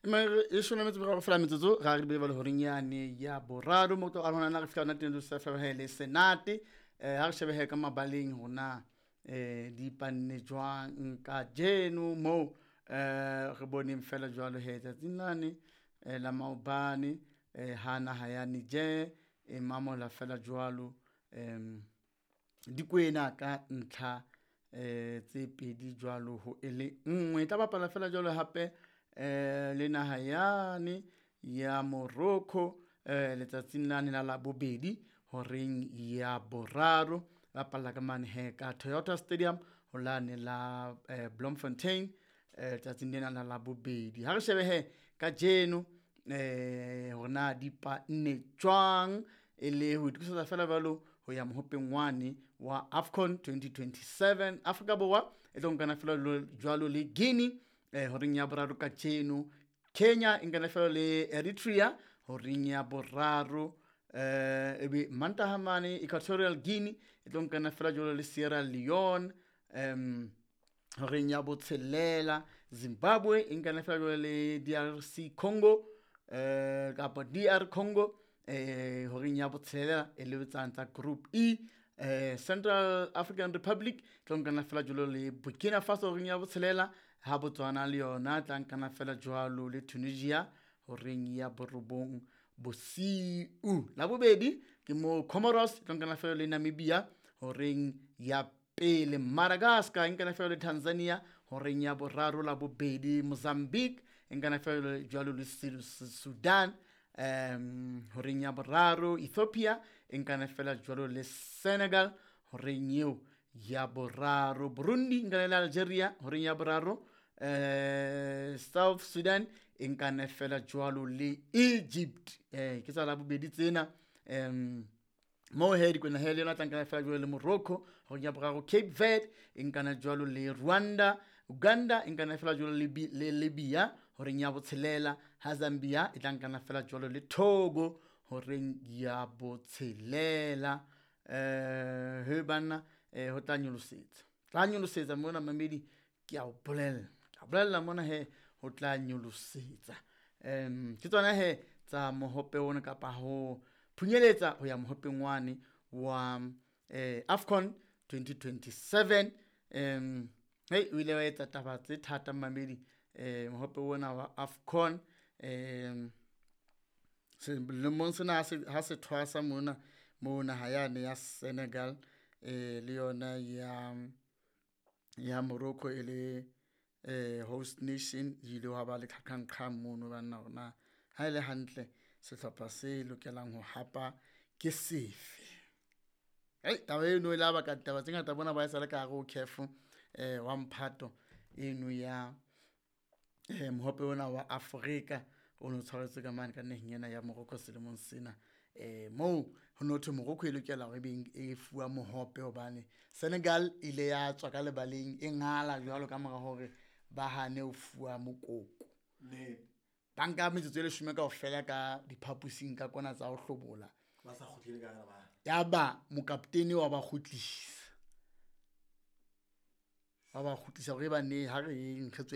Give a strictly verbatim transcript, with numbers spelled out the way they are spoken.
Leshome le metso e meraro fela metsotso ra re bile jwale horeng yane ya boraro mo tlo arolana re fihla hona teng sa le senate. Eh ha re shebehe ka mabaleng hona eh di panne jwang kajeno mo eh re boneng fela jwalo he tsatsing lane eh, la maobane eh ha naha ya Niger e mamola fela jwalo em dikwena ka ntlha eh tse pedi jwalo ho e le nngwe. E tla bapala fela jwalo hape eh le naha yane ya Morocco eh letsatsing lane la Labobedi horeng ya boraro, bapalla ka mane he ka Toyota Stadium ho lane la eh, Bloemfontein eh letsatsing lena la Labobedi. Ha re shebe he kajeno eh hore na di panne jwang e le ho itokisetsa fela jwalo ho ya mohopeng wane wa AFCON twenty twenty-seven. Afrika Borwa e tlo nkana fela jwalo le Guinea eh horeng ya boraro kajeno. Kenya e nkana fela le Eritrea horeng ya boraro. Eh ebe Mantaha mane Equatorial Guinea e tlo nkana fela jwalo le Sierra Leone em horeng ya botshelela. Zimbabwe e nkana fela jwalo le D R C Congo eh kapa D R Congo eh horeng ya botshelela e le tsang tsa Group E. Eh Central African Republic tlo nkana fela jwalo le Burkina Faso horeng ya botshelela, ha Botswana le yona tla nkana fela jwalo le Tunisia horeng ya borobong bosiu. Labobedi ke mo Comoros tlo nkana fela le Namibia horeng ya pele, Madagascar e nkana fela le Tanzania horeng ya boraro Labobedi, Mozambique e nkana fela jwalo le Sudan um horeng ya boraro, Ethiopia e nkana fela jwalo le Senegal horeng eo ya boraro, Burundi e nkana le Algeria horeng ya boraro, eh South Sudan e nkana fela jwalo le Egypt. Eh ke tsa Labobedi tsena em mo he di kwena he le yona tla nkana fela jwalo le Morocco horeng ya boraro, Cape Verde e nkana jwalo le Rwanda, Uganda e nkana fela jwalo le le Libya horeng ya botshelela, ha Zambia e tla nkana fela jwalo le Togo horeng ya botshelela. Eh he bana eh ho tla nyolosetsa, tla nyolosetsa mona mamedi, ke a o bolella, ke a bolella mona he ho tla nyolosetsa. Em ke tsona he tsa mohope ona kapa ho phunyeletsa ho ya mohopeng wane wa eh AFCON twenty twenty-seven. Em hey o ile wa etsa taba tse thata mamedi eh mohope ona wa AFCON. Em selemong sena ha se thwasa mona mo naha yane ya Senegal eh le yona ya ya Morocco e le eh host nation, ile wa ba le qhaqhang mono banna hore ha ile hantle sehlopha se lokelang ho hapa ke sefe. Hey taba eno e la baka ditaba tse ngata bona ba e sale ka hare ho C A F eh wa mphato eno ya eh mohope ona wa Afrika o no tshwaretswe ka mane ka naheng ena ya Morocco selemong sena. Eh moo ho no thwe Morocco e lokela hore e be e fuwa mohope hobane Senegal ile ya tswa ka lebaleng e ngala jwalo ka mora hore ba hane ho fuwa mokoko. Ne. Ba nka metsotso e leshome kaofela ka diphaposing ka kona tsa ho hlobola. Ba sa kgutlele ka hara ba. Yaba mokaptene wa ba kgutlisa. Wa ba kgutlisa hore ba ne ha re eng re tswe